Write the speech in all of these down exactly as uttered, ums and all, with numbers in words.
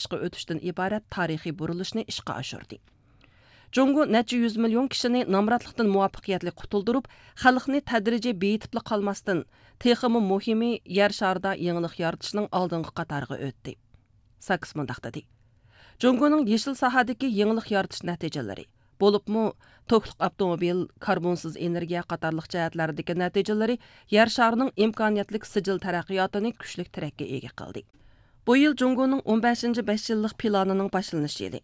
ئىشقا ئۆتۈشتىن ئىبارەت تارىخىي بۇرۇلۇشنى ئىشقا ئاشۇردى. جۇڭگو نەچچە يۈز مىليون كىشىنى نامراتلىقتىن مۇۋەپپەقىيەتلىك قۇتۇلدۇرۇپ، خەلقنى تەدرىجىي بېيىتىپلا قالماستىن، تېخىمۇ مۇھىمى، يەر شارىدا يېڭىلىق يارىتىشنىڭ ئالدىنقى قاتارىغا ئۆتتى. ساكس مۇنداق دېدى: جۇڭگونىڭ يېشىل ساھەدىكى يېڭىلىق يارىتىش نەتىجىلىرى، بولۇپمۇ توكلۇق ئاپتوموبىل، كاربونسىز ئېنېرگىيە قاتارلىق جەھەتلەردىكى نەتىجىلىرى يەر شارىنىڭ ئىمكانىيەتلىك سىجىل تەرەققىياتىنى كۈچلۈك تىرەككە ئىگە قىلدى. بۇ يىل جۇڭگونىڭ ئون بەشىنچى بەش يىللىق پىلانىنىڭ باشلىنىش يىلى.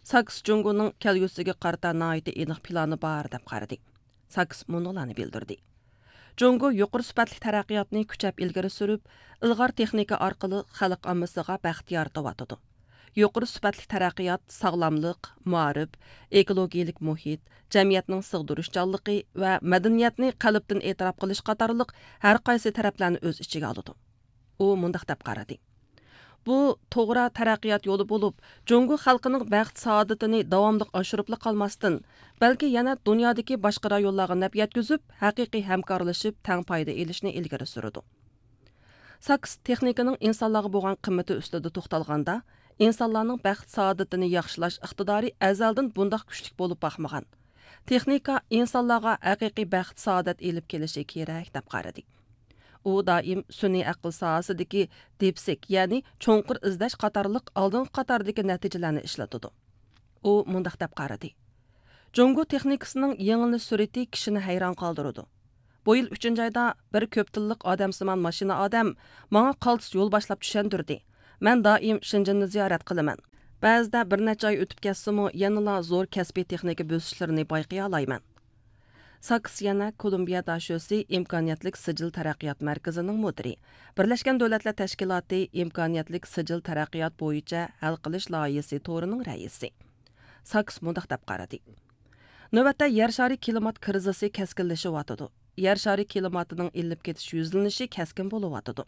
ساكس جۇڭگونىڭ كەلگۈسىگە قارىتا ناھايىتى ئېنىق پىلانى بار، دەپ قارىدى. ساكس مۇنۇلارنى بىلدۈردى: جۇڭگو يۇقىرى سۈپەتلىك تەرەققىياتنى كۈچەپ ئىلگىرى سۈرۈپ، ئىلغار تېخنىكا ئارقىلىق خەلق ئاممىسىغا بەخت يارىتىۋاتىدۇ. يۇقىرى سۈپەتلىك تەرەققىيات ساغلاملىق، مائارىپ، ئېكولوگىيەلىك مۇھىت، جەمئىيەتنىڭ سىغدۇرۇشچانلىقى ۋە مەدەنىيەتنى قەلبتىن ئېتىراپ قىلىش قاتارلىق ھەر قايسى تەرەپلەرنى ئۆز ئىچىگە ئالىدۇ. ئۇ مۇنداق دەپ قارىدى: بۇ توغرا تەرەققىيات يولى بولۇپ، جۇڭگو خەلقىنىڭ بەخت-سائادىتىنى داۋاملىق ئاشۇرۇپلا قالماستىن، بەلكى يەنە دۇنيادىكى باشقا رايونلارغا نەپ يەتكۈزۈپ، ھەقىقىي ھەمكارلىشىپ، تەڭ پايدا ئېلىشنى ئىلگىرى سۈرىدۇ. ساكس تېخنىكىنىڭ ئىنسانلارغا بولغان قىممىتى ئۈستىدە توختالغاندا، ئىنسانلارنىڭ بەخت-سائادىتىنى ياخشىلاش ئىقتىدارى ئەزەلدىن بۇنداق كۈچلۈك بولۇپ باقمىغان. تېخنىكا ئىنسانلارغا ھەقىقىي بەخت-سائادەت ئېلىپ كېلىشى كېرەك، دەپ قارىدى. ئۇ دائىم سۈنئىي ئەقىل ساھەسىدىكى دىپسىك، يەنى چوڭقۇر ئىزدەش قاتارلىق ئالدىنقى قاتاردىكى نەتىجىلەرنى ئىشلىتىدۇ. ئۇ مۇنداق دەپ قارىدى: جۇڭگو تېخنىكىسىنىڭ يېڭىلىش سۈرئىتى كىشىنى ھەيران قالدۇرىدۇ. بۇ يىل ئۈچىنچى ئايدا بىر كۆپ تىللىق ئادەمسىمان ماشىنا ئادەم ماڭا قالتىس يول باشلاپ چۈشەندۈردى. مەن دائىم شېنجېننى زىيارەت قىلىمەن. بەزىدە بىر نەچچە ئاي ئۆتۈپ كەتسىمۇ، يەنىلا زور كەسپىي تېخنىكا بۆسۈشلىرىنى بايقىيالايمەن. ساكس يەنە كولومبىيە داشۆسى ئىمكانىيەتلىك سىجىل تەرەققىيات مەركىزىنىڭ مۇدىرى، بىرلەشكەن دۆلەتلەر تەشكىلاتى ئىمكانىيەتلىك سىجىل تەرەققىيات بويىچە ھەل قىلىش لايىھىسى تورىنىڭ رەئىسى. ساكس مۇنداق دەپ قارىدى: نۆۋەتتە يەر شارى كىلىمات كىرىزىسى كەسكىنلىشىۋاتىدۇ. يەر شارى كىلىماتىنىڭ ئىللىپ كېتىش يۈزلىنىشى كەسكىن بولۇۋاتىدۇ.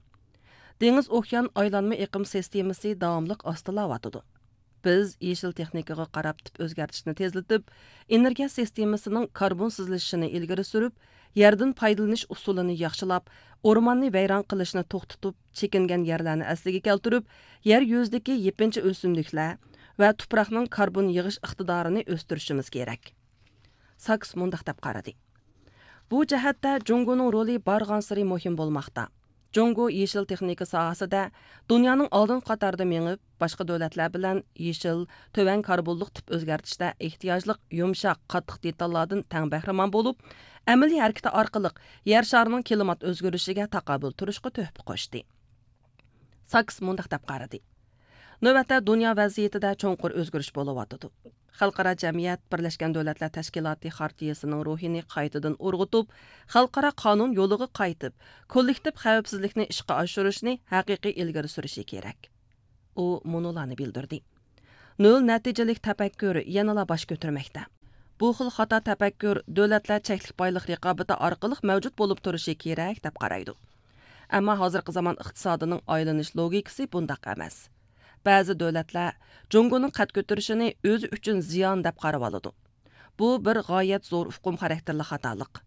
دېڭىز ئوكيان ئايلانما ئېقىم سىستېمىسى داۋاملىق ئاستىلاۋاتىدۇ. بىز يېشىل تېخنىكىغا قاراپ تىپ ئۆزگەرتىشنى تېزلىتىپ، ئېنېرگىيە سىستېمىسىنىڭ كاربونسىزلىشىشىنى ئىلگىرى سۈرۈپ، يەردىن پايدىلىنىش ئۇسۇلىنى ياخشىلاپ، ئورماننى ۋەيران قىلىشنى توختىتىپ، چېكىنگەن يەرلەرنى ئەسلىگە كەلتۈرۈپ، يەر يۈزىدىكى يېپىنچا ئۆسۈملۈكلەر ۋە تۇپراقنىڭ كاربون يىغىش ئىقتىدارىنى ئۆستۈرۈشىمىز كېرەك. ساكس مۇنداق دەپ قارىدى: بۇ جەھەتتە جۇڭگونىڭ رولى بارغانسېرى مۇھىم بولماقتا. جۇڭگو يېشىل تېخنىكا ساھەسىدە دۇنيانىڭ ئالدىنقى قاتارىدا مېڭىپ، باشقا دۆلەتلەر بىلەن يېشىل، تۆۋەن كاربونلۇق تىپ ئۆزگەرتىشتە ئېھتىياجلىق يۇمشاق، قاتتىق دېتاللاردىن تەڭ بەھرىمەن بولۇپ، ئەمەلىي ھەرىكىتى ئارقىلىق يەر شارىنىڭ كىلىمات ئۆزگىرىشىگە تاقابىل تۇرۇشقا تۆھپە قوشتى. ساكس مۇنداق دەپ قارىدى: نۆۋەتتە دۇنيا ۋەزىيىتىدە چوڭقۇر ئۆزگىرىش بولۇۋاتىدۇ. خەلقئارا جەمئىيەت بىرلەشكەن دۆلەتلەر تەشكىلاتى خارتىيىسىنىڭ روھىنى قايتىدىن ئۇرغۇتۇپ، خەلقئارا قانۇن يولىغا قايتىپ، كوللېكتىپ خەۋپسىزلىكنى ئىشقا ئاشۇرۇشنى ھەقىقىي ئىلگىرى سۈرۈشى كېرەك. ئۇ مۇنۇلارنى بىلدۈردى: نۆل نەتىجىلىك تەپەككۇر يەنىلا باش كۆتۈرمەكتە. بۇ خىل خاتا تەپەككۇر دۆلەتلەر چەكلىك بايلىق رىقابىتى ئارقىلىق مەۋجۇت بولۇپ تۇرۇشى كېرەك، دەپ قارايدۇ. ئەمما ھازىرقى زامان ئىقتىسادىنىڭ ئايلىنىش لوگىكىسى بۇنداق ئەمەس. بەزى دۆلەتلەر جۇڭگونىڭ قەد كۆتۈرۈشىنى ئۆزى ئۈچۈن زىيان دەپ قارىۋالىدۇ. بۇ بىر غايەت زور ئۇقۇم خاراكتېرلىك خاتالىق.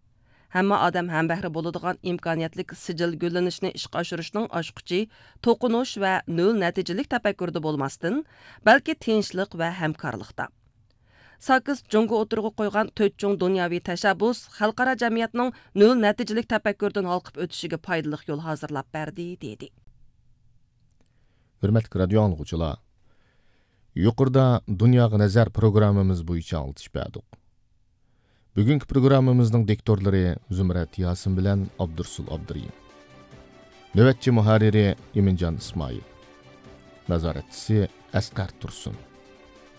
ھەممە ئادەم ھەمبەھرە بولىدىغان ئىمكانىيەتلىك سىجىل گۈللىنىشنى ئىشقا ئاشۇرۇشنىڭ ئاچقۇچى توقۇنۇش ۋە نۆل نەتىجىلىك تەپەككۇردا بولماستىن، بەلكى تىنچلىق ۋە ھەمكارلىقتا. ساكس جۇڭگو ئوتتۇرىغا قويغان تۆت چوڭ دۇنياۋى تەشەببۇس خەلقئارا جەمئىيەتنىڭ نۆل نەتىجىلىك تەپەككۇردىن ھالقىپ ئۆتۈشىگە پايدىلىق يول ھازىرلاپ بەردى، دېدى. ھۆرمەتلىك رادىيو ئاڭلىغۇچىلار، يۇقىرىدا دۇنياغا نەزەر پروگراممىمىز بويىچە ئاڭلىتىش بەردۇق. بۈگۈنكى پروگراممىمىزنىڭ دىكتورلىرى زۇمرەت ياسىن بىلەن ئابدۇرسۇل ئابدۇرېھىم. نۆۋەتچى مۇھەررىرى ئىمىنجان ئىسمائىل. نازارەتچىسى ئەسقەر تۇرسۇن.